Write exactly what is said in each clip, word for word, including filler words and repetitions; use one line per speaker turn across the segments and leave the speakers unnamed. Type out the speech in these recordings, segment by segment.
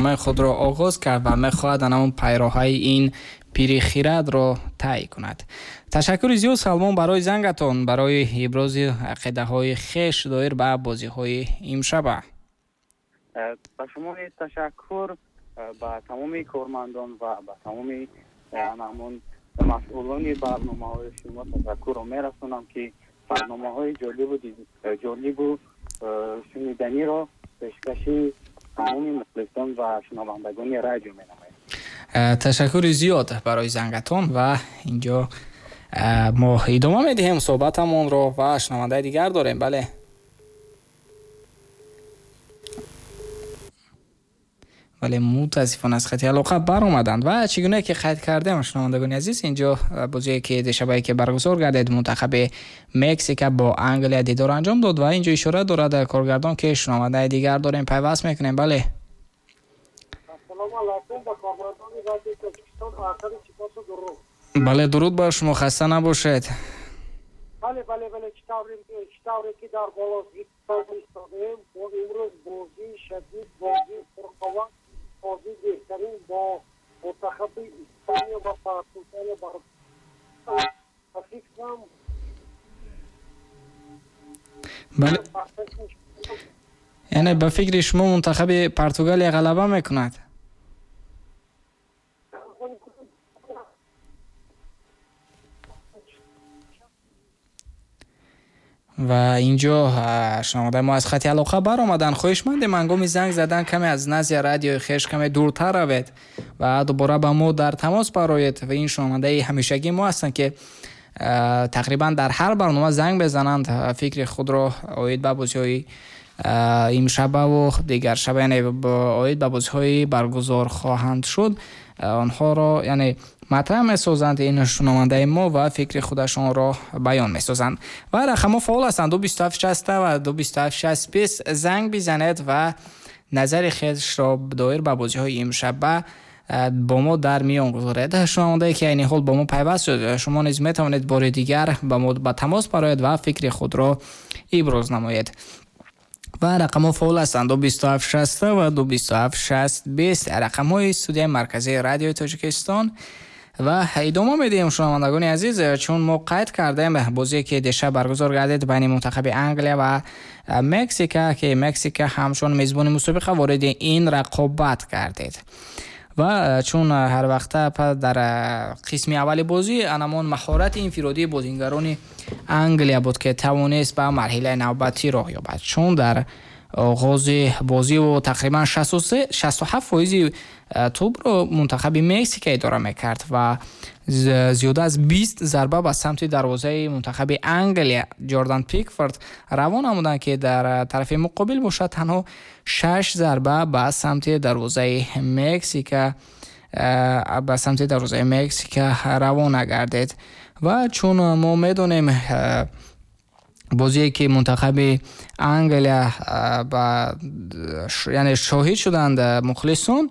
барномаи худро оғоз кард ва мехоҳад ҳамон пайроҳаи ин пири хирадро тай кунад. Ташаккури зиёд, Салмон, барои зангатон, барои ибрози ақидаҳои хеш доир ба бозиҳои имшаба.
Ба шумо низ ташаккур, ба тамоми кормандон ва ба тамоми ҳамон масъулони барномаҳои шумо ташаккурро мерасонам, ки барномаҳои ҷолибу ҷолибу шуниданиро пешкаши тамоми мухлисон ва шунавандагони радио менамояд.
Ташаккури зиёд барои зангатон ва инҷо мо идома медиҳем суҳбатамонро ва шунавандаи дигар дорем. Бале, вале мутаассифона аз хати алоқа баромаданд ва чӣ гуна ки қайд кардем, шунавандагони азиз, инҷо бозие ки дешабае ки баргузор гардид, мунтахаби Мексика бо Англия дидор анҷом дод ва инҷо ишора дорад коргардон, ки шунавандаи дигар дорем, пайваст мекунем. Бале,
ассалому алайкум ба кормандони радиои Тоҷикистон, ахири сипосу дуруд.
Бале, дуруд бар шумо, хаста набошед.
Бале, бале, бале, чӣ тавре ки дар боло зикр истодем, бо имрӯз бозии шадид, бозии пурқувват, бозии беҳтарин бо мунтахаби Испания ва Португалия бар фикрам.
Бале, яъне ба фикри шумо мунтахаби Португалия ғалаба мекунад? Ва инҷо шунавандаи мо аз хати алоқа баромаданд. Хоҳишмандем ҳангоми занг задан каме аз назди радиои хеш каме дуртар равед ва дубора ба мо дар тамос бароед. Ва ин шунавандаи ҳамешагии мо ҳастанд, ки тақрибан дар ҳар барнома занг мезананд, фикри худро оид ба бозиҳои имшабаву дигар шаба, яъне оид ба бозиҳои баргузор хоҳанд шуд, онҳоро яъне матраҳ месозанд ин шунавандаи мо ва фикри худашонро баён месозанд. Ва рақамҳо фаъол ҳастанд: ду бисту ҳафт шаст ва ду бисту ҳафт шаст бист. Занг бизанед ва назари худро доир ба бозиҳои имшаба бо мо дар миён гузоред. Шунавандае ки айни ҳол бо мо пайваст шуд, шумо низ метавонед бори дигар ба мо ба тамос бароед ва фикри худро иброз намоед. Ва рақамҳо фаъол ҳастанд: ду бисту ҳафт шаст ва ду бисту ҳафт шаст бист, рақамҳои студияи марказии радиои Тоҷикистон. Ва идома медиҳем, шунавандагони азиз, чун мо қайд кардем бозие ки дешаб баргузор гардид байни мунтахаби Англия ва Мексика, ки Мексика ҳамчун мезбони мусобиқа вориди ин рақобат гардид. Ва чун ҳар вақта дар қисми аввали бозӣ анамон маҳорати инфиродии бозингарони Англия буд, ки тавонист ба марҳилаи навбатӣ роҳ ёбад, чун дар оғози бозиву тақрибан шасту ҳафт фоизи тӯбро мунтахаби Мексика идора мекард ва зиёда аз бист зарба ба самти дарвозаи мунтахаби Англия Ҷордан Пикфорд равон намуданд, ки дар тарафи муқобил бошад танҳо шаш зарба ба самти дарвозаи Мексика ба самти дарвозаи Мексика равона гардид. Ва чун мо медонем, бозие ки мунтахаби Англия ба яъне шоҳид шуданд мухлисон,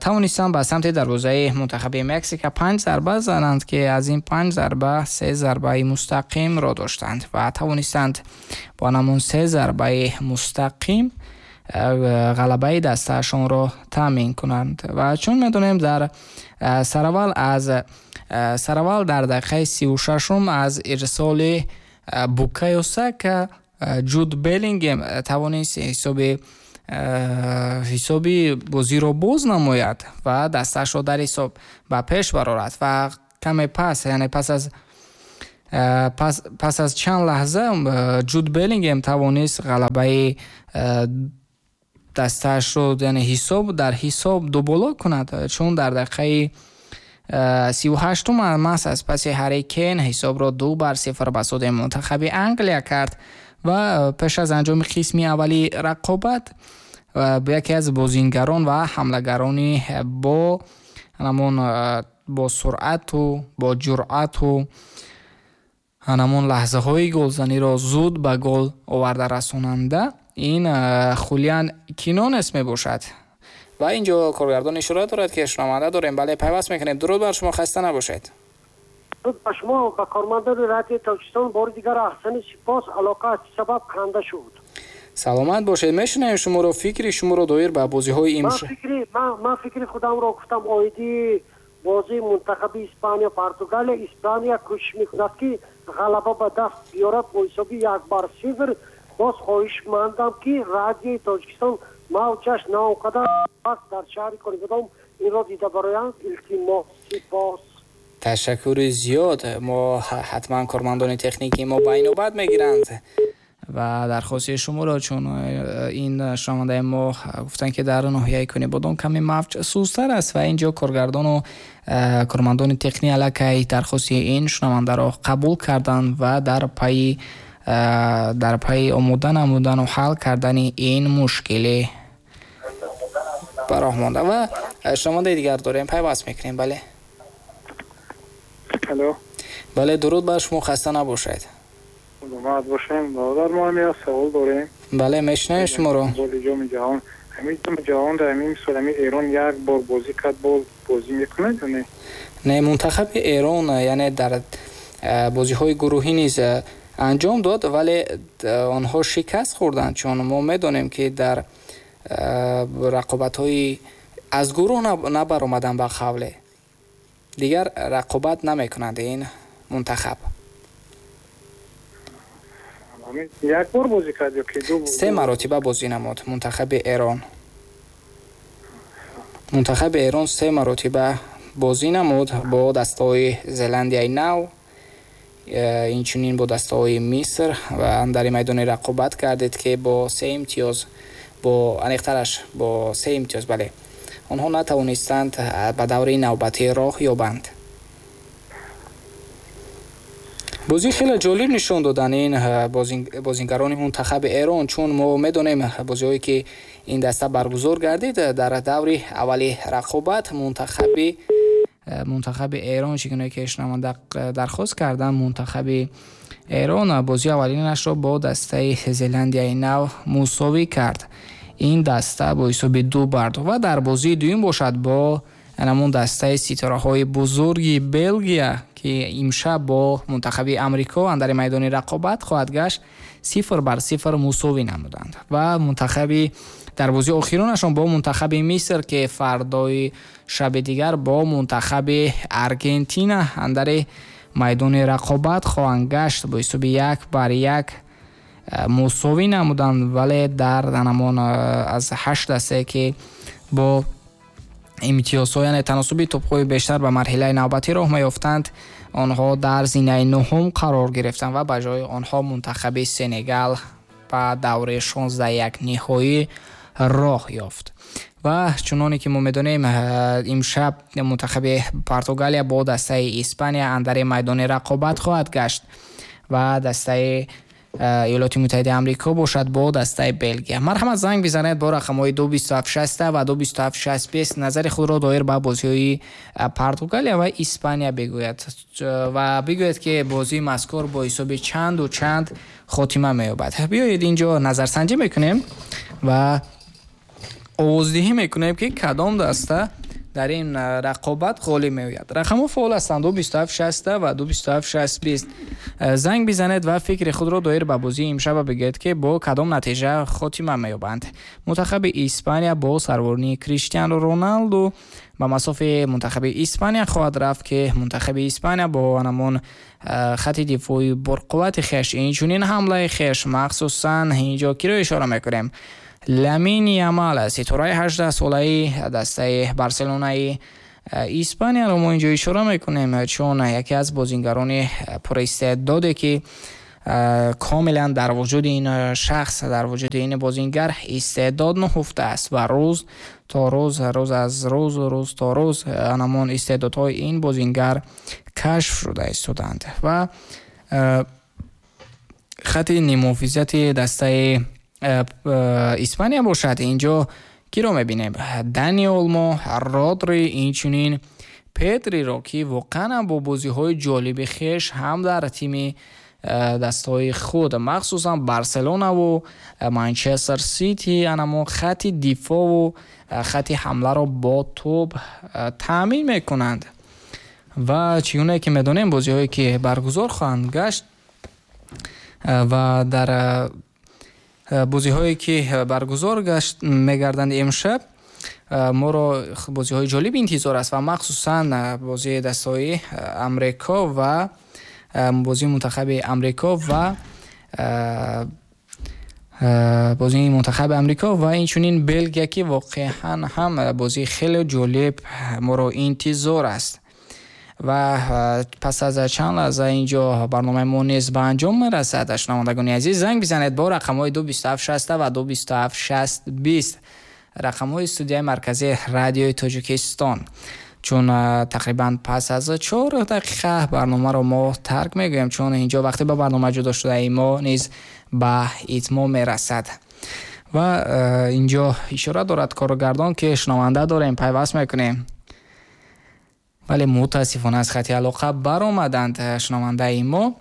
тавонистанд ба самти дарвозаи мунтахаби Мексика панҷ зарба зананд, ки аз ин панҷ зарба се зарбаи мустақимро доштанд ва тавонистанд бо ҳамон се зарбаи мустақим ғалабаи дастаашонро таъмин кунанд. Ва чун медонем, дар сараввал аз сараввал дар дақиқаи сию шашум аз ирсоли Букайо Сака Ҷуд Беллингем тавонист ҳисоби ҳисоби бозиро боз намояд ва дастаашро дар ҳисоб ба пеш барорад. Ва каме пас, яъне пас аз пас, пас аз чанд лаҳза Ҷуд Беллингем тавонист ғалабаи дастаашро, яъне ҳисоб дар ҳисоб дуболо кунад, чун дар дақиқаи сию ҳаштум маҳз аз паси Ҳарри Кейн ҳисобро ду бар сифр ба суди мунтахаби Англия кард. Ва пеш аз анҷоми қисми аввали рақобат яке аз бозингарон ва ҳамлагарони бо ҳамон бо суръату бо ҷуръату ҳамон лаҳзаҳои голзаниро зуд ба гол оварда расонанда ин Хулиан Кинонес мебошад. Ва инҷо коргардон ишора дорад, ки шунаванда дорем. Бале, пайваст мекунем. Дуруд бар шумо, хаста набошед.
Дуруд ба шумо ва кормандони радиои Тоҷикистон. Бори дигар аҳсани сипос, алоқа аз сабаб канда шуд.
Саломат бошед, мешунавем шуморо, фикри шуморо доир ба бозиҳои имшаб.
Ман фикри худамро гуфтам оиди бозии мунтахаби Испания Португалия. Испания кӯшиш мекунад, ки ғалаба ба даст биёрад бо ҳисоби як бар сифр. Боз хоҳишмандам, ки радиои Тоҷикистон мавҷаш на он қадар паст дар шаҳри Конибодом инро дида бароянд. Илтимос, сипос.
Ташаккури зиёд. Мо ҳатман кормандони техникии мо ба инобат мегиранд ва дархости шуморо, чун ин шунавандаи мо гуфтанд, ки дар ноҳияи Конибодом каме мавҷ сустар аст ва инҷо коргардону кормандони техникӣ аллакай дархости ин шунавандаро қабул карданд ва дар пайи дар пайи омода намудану ҳал кардани ин мушкилӣ ба роҳ монда. Ва шунавандаи дигар дорем, пайваст мекунем. Бале.
Алло.
Бале, дуруд бар шумо, хаста набошед.
Саломат бошем. Бародар, мо ҳам як савол дорем.
Бале, мешунавем шуморо.
Боли ҷоми ҷаҳон, ҳамин ҷоми ҷаҳон дар ҳамин мисол ҳамин Эрон як бор бозӣ кард, боз бозӣ мекунад ё не?
Не, мунтахаби Эрон яъне дар бозиҳои гурӯҳӣ низ анҷом дод, вале онҳо шикаст хӯрданд, чун мо медонем, ки дар рақобатҳои аз гурӯҳ набаромаданд, ба қавле дигар рақобат намекунанд ин мунтахаб.
Як бор бозӣ кард ё ки ду?
Се маротиба бозӣ намуд мунтахаби Эрон. Мунтахаби Эрон се маротиба бозӣ намуд бо дастаҳои Зеландияи Нав, инчунин бо дастаҳои Миср ва дар майдони рақобат кардед, ки бо се имтиёз, бо аниқтараш бо се имтиёз, бале, онҳо натавонистанд ба давраи навбатӣ роҳ ёбанд. Бозӣ хеле ҷолиб нишон доданд ин бозингарони мунтахаби Эрон, чун мо медонем бозиҳое ки ин даста баргузор гардид дар даври аввали рақобат мунтахаби мунтахаби Эрон, чӣ гуна ки шунаванда дархост карданд, мунтахаби Эрон бозии аввалинашро бо дастаи Зеландияи Нав мусовӣ кард. Ин даста бо ҳисоби ду бар ду ва дар бозии дуюм бошад бо ҳамон дастаи ситораҳои бузурги Белгия, ки имшаб бо мунтахаби Амрико андари майдони рақобат хоҳад гашт, сифр бар сифр мусовӣ намуданд. Ва мунтахаби дар бозии охиронашон бо мунтахаби Миср, ки фардои шаби дигар бо мунтахаби Аргентина андари майдони рақобат хоҳанд гашт, бо ҳисоби як бар як мусовӣ намуданд, вале дар ҳамон аз ҳашт дастае ки бо имтиёзҳо, яъне таносуби тӯбҳои бештар ба марҳилаи навбатӣ роҳ меёфтанд, онҳо дар зинаи нуҳум қарор гирифтанд ва ба ҷои онҳо мунтахаби Сенегал ба давраи шонздаҳ як ниҳоӣ роҳ ёфт. Ва чуноне ки мо медонем, имшаб мунтахаби Португалия бо дастаи Испания андари майдони рақобат хоҳад гашт ва дастаи Иёлоти Муттаҳидаи Амрико бошад бо дастаи Белгия. Марҳамат, занг бизанед бо рақамҳои ду бисту ҳафт шаст ва ду бисту ҳафт шаст бист, назари худро доир ба бозиҳои Португалия ва Испания бигӯяд ва бигӯяд, ки бозии мазкур бо ҳисоби чанду чанд хотима меёбад. Биёед инҷо назарсанҷӣ мекунем ва овоздиҳӣ мекунем, ки кадом даста дар ин рақобат ғолиб меояд. Рақамҳо фаъол ҳастанд: ду бисту ҳафт шаст ва ду бисту ҳафт шаст бист. Занг бизанед ва фикри худро доир ба бозии имшаба бигӯед, ки бо кадом натиҷа хотима меёбанд. Мунтахаби Испания бо сарворнии Криштиану Роналду ба масофи мунтахаби Испания хоҳад рафт, ки мунтахаби Испания бо ҳамон хати дифои бурқуввати хеш, инчунин ҳамлаи хеш, махсусан инҷо киро ишора мекунем, Ламин Ямал, ситораи ҳаждаҳсолаи дастаи Барселонаи Испанияро мо инҷо ишора мекунем, чун яке аз бозингарони пуристеъдоде ки комилан дар вуҷуди ин шахс, дар вуҷуди ин бозингар истеъдод нуҳуфта аст ва рӯз то рӯз, рӯз аз рӯз, рӯз то рӯз ҳамон истеъдодҳои ин бозингар кашф шуда истоданд. Ва хати нимуҳофизати дастаи Испания бошад, инҷо киро мебинем? Дани Олмо, Родри, инчунин Педриро, ки воқеан бо бозиҳои ҷолиби хеш ҳам дар тими дастҳои худ, махсусан Барселонаву Манчестер Сити, анамо хати дифоъву хати ҳамларо бо тӯб таъмин мекунанд. Ва чӣ гуна ки медонем, бозиҳое ки баргузор хоҳанд гашт ва дар Бозиҳое ки баргузор гашт мегарданд имшаб, моро бозиҳои ҷолиб интизор аст ва махсусан бозии дастаҳои Амрико ва бозии мунтахаби Амрико ва бозии мунтахаби Амрико ва инчунин Белгия, ки воқеан ҳам бозии хеле ҷолиб моро интизор аст. Ва пас аз чанд лаҳза инҷо барномаи мо низ ба анҷом мерасад. Шунавандагони азиз, занг бизанед бо рақамҳои ду бисту ҳафт шаст ва ду бисту ҳафт шаст бист, рақамҳои студияи марказии радиои Тоҷикистон. Чун тақрибан пас аз чор дақиқа барномаро мо тарк мегӯем, чун инҷо вақте ба барнома ҷудо шудаи мо низ ба итмом мерасад. Ва инҷо ишора дорад коргардон, ки шунаванда дорем, пайваст мекунем. Вале мутаассифона аз хати алоқа баромаданд шунавандаи мо.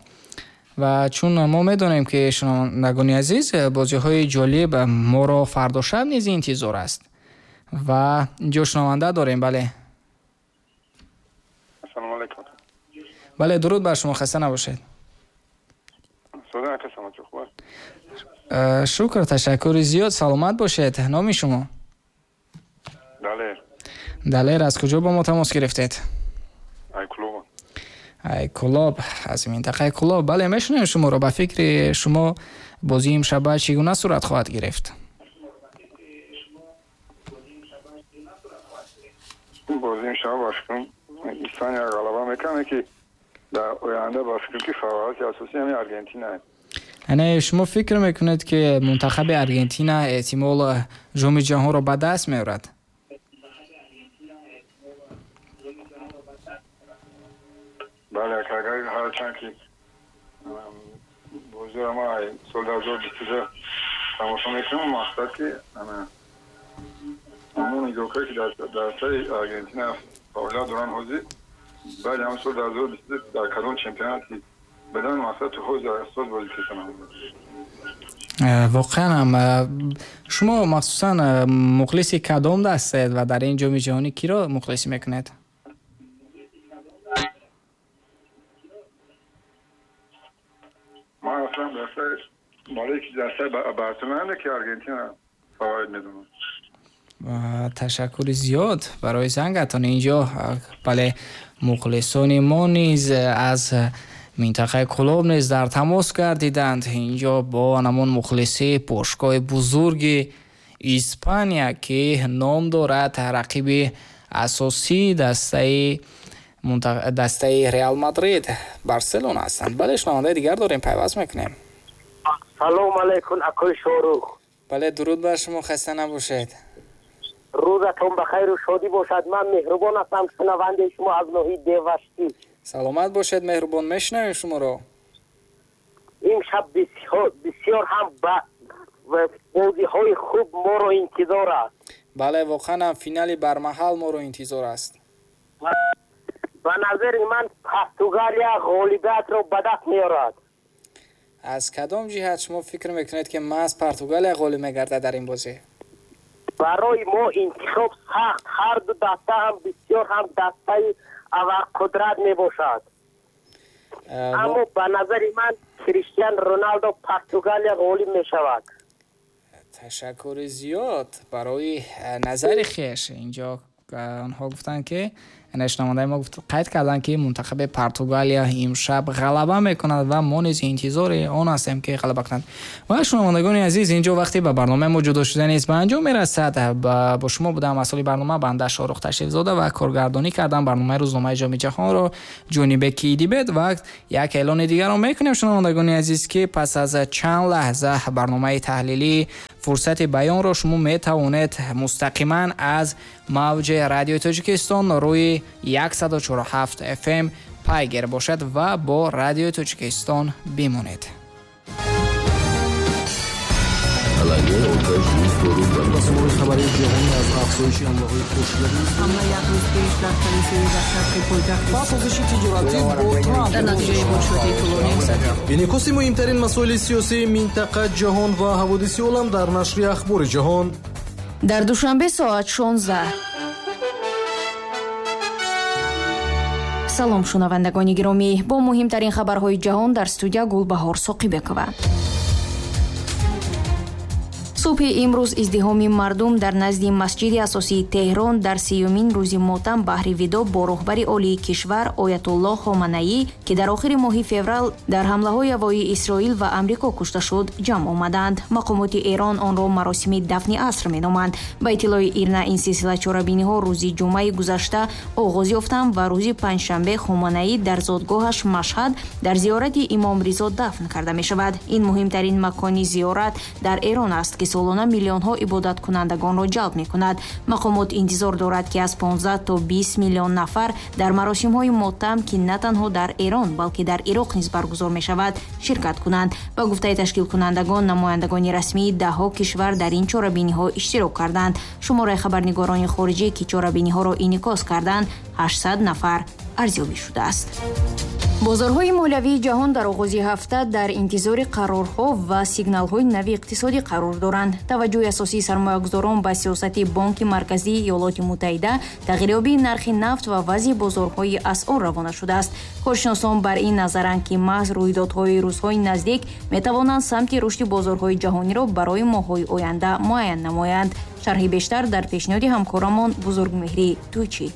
Ва чун мо медонем, ки шунавандагони азиз, бозиҳои ҷолиб моро фардо шаб низ интизор аст. Ва инҷо шунаванда дорем. Бале.
Ассалому алайкум.
Бале, дуруд бар шумо, хаста набошед. Шукр, ташаккури зиёд, саломат бошед. Номи шумо?
Далер.
Далер, аз куҷо бо мо тамос гирифтед?
Ай Кулоб.
Ай Кулоб, аз минтақаи Кулоб. Бале, мешунавем шуморо. Ба фикри шумо бозии имшаба чӣ гуна сурат хоҳад гирифт?
Бозии имшаба ба фикрам Испания ғалаба мекунад, ки дар оянда ба фикрам ки фаворити асосӣ ҳамин Аргентина аст.
Яъне шумо фикр мекунед, ки мунтахаби Аргентина эҳтимол ҷоми ҷаҳонро ба даст меорад?
Бале, агар ҳарчанд ки бозиро ма соли ду ҳазору бисту ду тамошо мекунам, мақсад ки ҳамон игрокҳое ки дар дастаи Аргентина фаъолият доранд ҳозир, баъди ҳамон соли ду ҳазору бисту ду дар кадом чемпионати бадан мақсад то ҳозир асос бозӣ карданд.
Воқеан ҳам шумо махсусан мухлиси кадом дастаед ва дар ин ҷоми ҷаҳонӣ киро мухлисӣ мекунед?
Ман аслан дастаи барои ки дастаи Барселона ки Аргентина фаворит медонам.
Ташаккури зиёд барои зангатон. Инҷо бале, мухлисони мо низ аз минтақаи Кулоб низ дар тамос гардиданд. Инҷо бо ҳамон мухлиси бошгоҳи бузурги Испания, ки ном дорад рақиби асосии дастаи дастаи Реал Мадрид Барселона ҳастанд. Бале, шунавандаи дигар дорем, пайваст мекунем.
Салом алайкум, акои Шорух.
Бале, дуруд бар шумо, хаста набошед.
Рӯзатон ба хайру шодӣ бошад. Ман Меҳрубон ҳастам, шунавандаи шумо аз ноҳияи Деваштӣ.
Саломат бошед, Меҳрубон, мешунавем шуморо.
Имшаб бисёр ҳам ба бозиҳои хуб моро интизор аст.
Бале, воқеан ҳам финали бармаҳал моро интизор аст.
Ба назари ман Португалия ғолибиятро ба даст меорад.
Аз кадом ҷиҳат шумо фикр мекунед, ки маҳз Португалия ғолиб мегардад дар ин бозӣ?
Барои мо интихоб сахт, ҳар ду даста ҳам бисёр ҳам дастаи абарқудрат мебошад. Аммо ба назари ман Криштиан Роналдо Португалия ғолиб мешавад.
Ташаккури зиёд барои назари хеш. Инҷо онҳо гуфтанд, ки шунавандаи мо қайд карданд, ки мунтахаби Португалия имшаб ғалаба мекунад ва мо низ интизори он ҳастем, ки ғалаба кунанд. Ва шунавандагони азиз, инҷо вақте ба барномаи мо ҷудо шуда низ ба анҷом мерасад. Бо шумо будам масъули барнома банда Шорух Ташрифзода ва коргардонӣ кардам барномаи рӯзномаи ҷоми ҷаҳонро Ҷонибек Идибет. Ва як эълони дигарро мекунем, шунавандагони азиз, ки пас аз чанд лаҳза барномаи таҳлилӣ фурсати баёнро шумо метавонед мустақиман аз мавҷи радиои Тоҷикистон рӯи яксаду чору ҳафт эф эм пайгир бошад ва бо радиои Тоҷикистон бимонед.
Инъикоси муҳимтарин масоили сиёсии минтақа, ҷаҳон ва ҳаводиси олам дар нашри Ахбори ҷаҳон.
Дар Душанбе соат шонздаҳ. Салом шунавандагони гиромӣ, бо муҳимтарин хабарҳои ҷаҳон дар студия Гулбаҳор Соқибекова. Субҳи имрӯз издиҳоми мардум дар назди масҷиди асосии Теҳрон дар сеюмин рӯзи мотам баҳри видо бо роҳбари олии кишвар Оятуллоҳ Хоманаӣ, ки дар охири моҳи феврал дар ҳамлаҳои ҳавоии Исроил ва Амрико кушта шуд, ҷамъ омаданд. Мақомоти Эрон онро маросими дафни аср меноманд. Ба иттилои Ирна, ин силсила чорабиниҳо рӯзи ҷумъаи гузашта оғоз ёфтанд ва рӯзи панҷшанбе Хоманаӣ дар зодгоҳаш Машҳад дар зиёрати Имом Ризо дафн карда мешавад. Ин муҳимтарин макони зиёрат дар Эрон аст, ки солона миллионҳо ибодаткунандагонро ҷалб мекунад. Мақомот интизор дорад, ки аз понздаҳ то бист миллион нафар дар маросимҳои мотам, ки на танҳо дар Эрон, балки дар Ироқ низ баргузор мешавад, ширкат кунанд. Ба гуфтаи ташкилкунандагон, намояндагони расмии даҳҳо кишвар дар ин чорабиниҳо иштирок карданд. Шумораи хабарнигорони хориҷӣ, ки чорабиниҳоро инъикос карданд, ҳаштсад нафар арзёбӣ шудааст. Бозорҳои молиявии ҷаҳон дар оғози ҳафта дар интизори қарорҳо ва сигналҳои нави иқтисодӣ қарор доранд. Таваҷҷӯҳи асосии сармоягузорон ба сиёсати Бонки Марказии Иёлоти Муттаҳида, тағйирёбии нархи нафт ва вазъи бозорҳои асъор равона шудааст. Коршиносон бар ин назаранд, ки маҳз рӯйдодҳои рӯзҳои наздик метавонанд самти рушди бозорҳои ҷаҳониро барои моҳҳои оянда муайян намоянд. Шарҳи бештар дар пешниҳоди ҳамкорамон Бузургмеҳрӣ Тӯйчӣ.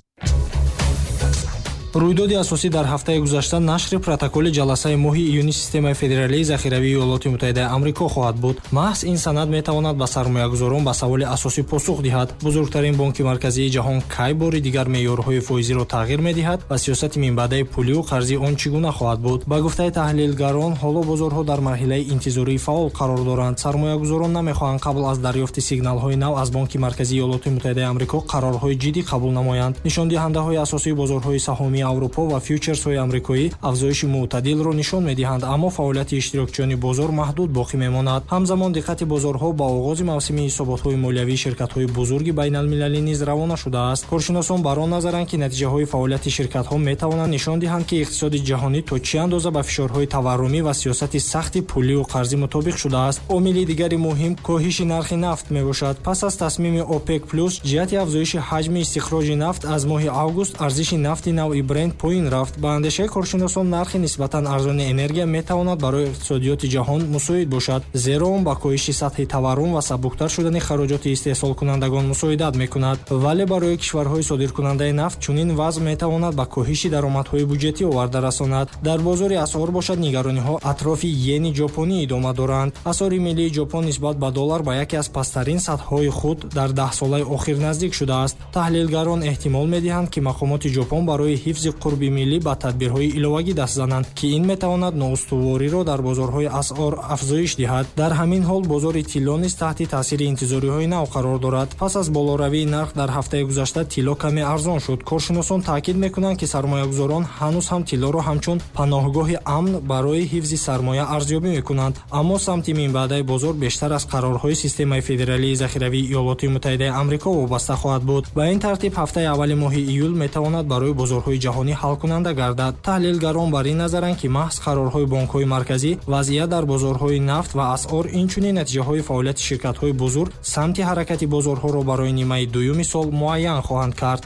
Рӯйдоди асосӣ дар ҳафтаи гузашта нашри протоколи ҷаласаи моҳи июни системаи федералии захиравии Иёлоти Муттаҳидаи Амрико хоҳад буд. Маҳз ин санад метавонад ба сармоягузорон ба саволи асосӣ посух диҳад. Бузургтарин бонки марказии ҷаҳон кай бори дигар меъёрҳои фоизиро тағйир медиҳад ва сиёсати минбаъдаи пулию қарзии он чӣ гуна хоҳад буд. Ба гуфтаи таҳлилгарон, ҳоло бозорҳо дар марҳилаи интизории фаъол қарор доранд. Сармоягузорон намехоҳанд қабл аз дарёфти сигналҳои нав аз Бонки Марказии Иёлоти Муттаҳидаи Амрико қарорҳои ҷиддӣ қабул намоянд. Нишондиҳандаҳои асосии бозорҳои саҳомии Аврупо ва фьючерсҳои амрикоӣ афзоиши мӯътадилро нишон медиҳанд, аммо фаъолияти иштирокчиёни бозор маҳдуд боқӣ мемонад. Ҳамзамон диққати бозорҳо ба оғози мавсими ҳисоботҳои молиявии ширкатҳои бузурги байналмилалӣ низ равона шудааст. Коршиносон бар он назаранд, ки натиҷаҳои фаъолияти ширкатҳо метавонанд нишон диҳанд, ки иқтисоди ҷаҳонӣ то чӣ андоза ба фишорҳои таваррумӣ ва сиёсати сахти пулию қарзӣ мутобиқ шудааст. Омили дигари муҳим коҳиши нархи нафт мебошад. Пас аз тасмими ОПЕК плюс ҷиҳати афзоиши ҳаҷми истихроҷи нафт аз моҳи август арзиши нафти навъи Брент поин рафт. Ба андешаи коршиносон, нархи нисбатан арзони энергия метавонад барои иқтисодиёти ҷаҳон мусоид бошад, зеро он ба коҳиши сатҳи таваррум ва сабуктар шудани хароҷоти истеҳсолкунандагон мусоидат мекунад. Вале барои кишварҳои содиркунандаи нафт чунин вазъ метавонад ба коҳиши даромадҳои буҷетӣ оварда расонад. Дар бозори асъор бошад, нигарониҳо атрофи йени ҷопонӣ идома доранд. Асъори миллии Ҷопон нисбат ба доллар ба яке аз пасттарин сатҳҳои худ дар даҳсолаи охир наздик шудааст. Таҳлилгарон эҳтимол медиҳанд, ки мақомоти Ҷопон барои ҳифзи қурби миллӣ ба тадбирҳои иловагӣ даст зананд, ки ин метавонад ноустувориро дар бозорҳои асъор афзоиш диҳад. Дар ҳамин ҳол бозори тилло низ таҳти таъсири интизориҳои нав қарор дорад. Пас аз болоравии нарх дар ҳафтаи гузашта тилло каме арзон шуд. Коршиносон таъкид мекунанд, ки сармоягузорон ҳанӯз ҳам тиллоро ҳамчун паноҳгоҳи амн барои ҳифзи сармоя арзёбӣ мекунанд, аммо самти минбаъдаи бозор бештар аз қарорҳои системаи федералии захиравии Иёлоти Муттаҳидаи Амрико вобаста хоҳад буд. Ба ин тартиб ҳафтаи аввали моҳи июл метавонад барои бозорҳои ҷаҳонӣ ҳалкунанда гардад. Таҳлилгарон бар ин назаранд, ки маҳз қарорҳои бонкҳои марказӣ, вазъият дар бозорҳои нафт ва асъор, инчунин натиҷаҳои фаъолияти ширкатҳои бузург самти ҳаракати бозорҳоро барои нимаи дуюми сол муайян хоҳанд кард.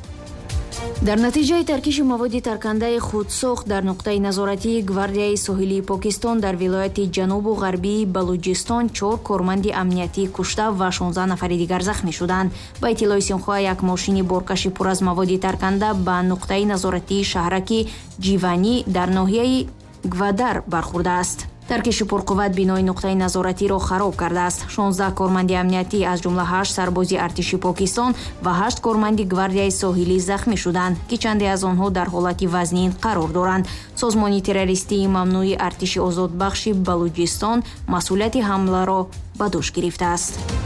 Дар натиҷаи таркиши маводи таркандаи худсохт дар нуқтаи назоратии Гвардияи соҳилии Покистон дар вилояти ҷанубу ғарбии Балуҷистон чор корманди амниятӣ кушта ва шонздаҳ нафари дигар захмӣ шуданд. Ба иттилои Синхуа, як мошини боркаши пур аз маводи тарканда ба нуқтаи назоратии шаҳраки Ҷиванӣ дар ноҳияи Гвадар бархӯрдааст. Таркиши пурқувват бинои нуқтаи назоратиро хароб кардааст. шонздаҳ корманди амниятӣ, аз ҷумла ҳашт сарбози артиши Покистон ва ҳашт корманди Гвардияи соҳилӣ захмӣ шуданд, ки чанде аз онҳо дар ҳолати вазнин қарор доранд. Созмони террористии мамнӯи артиши озодбахши Балуҷистон масъулияти ҳамларо ба дӯш гирифтааст.